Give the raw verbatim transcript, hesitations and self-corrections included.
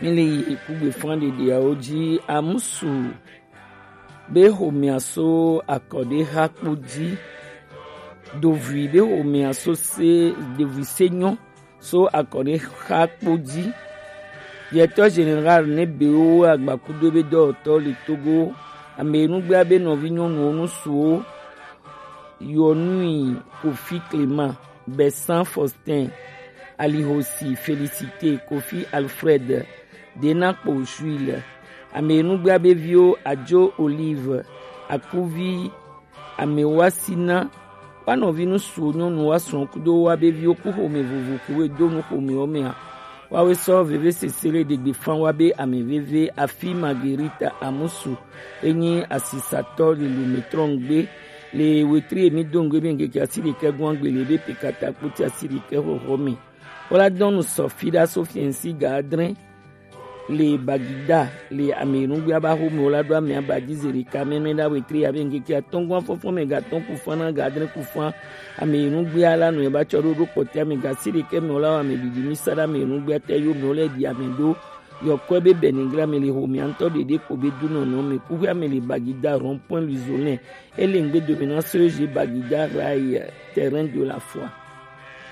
Míle yi kugbe fã ɖeɖeawo ji. Amusu be xomea so akɔɖexa kpo ji. Dovui be xomea so se, dovui se nyɔ so akɔɖexa kpo ji. Directeur général ne bewo agbakudo be dɔwɔtɔ le Togo, amenugbea be nɔvi nyɔnuwo nusuwo, Yɔnui Kofi Clément, Bessan Faustin, Alihosi Félicité, Kofi Alfred, Denakpo Jules, amenugbea be viwo Ajo Olive, Akuvi, Amewasina, wa nɔvi nusuwo nyɔnu wa srɔ̃ kudo wa be viwo ku xome vovo kewo do nu xomewo mea. Wawe sɔ veve sesele ɖegbe fã wa be ame veve afi Marguerite Amusu enyi asisatɔ le Lumetrɔn gbe le wetri emi do ŋgbe be ŋkeke asi ɖekɛ gɔn agbele be pekata kpoti asi ɖekɛ xɔxɔ me. Wola dɔn nu sɔ fi ɖa so fiɛnsi ga adre le Bagida le amenugbea ba xome wola ɖo ame aba ji ze ɖeka mɛmɛ ɖa wetri abe ŋkeke atɔngɔn afɔfɔ me ga tɔn ku fã na ga adre ku fã. Amenugbea la nɔ eba tsɔ ɖo ɖo kpɔtɛ ame ga asi ɖekɛ me wola wa ame ɖiɖi mi sa ɖa amenugbea tɛ yo me wola ɖi ame ɖo. Yɔkɔe be Benigra me le xomea ŋutɔ ɖeɖe kpo be du nɔnɔ me kuxea me le Bagida rond-point Luzolin. Ele ŋgbe dome na so je Bagida rail terrain de la foi.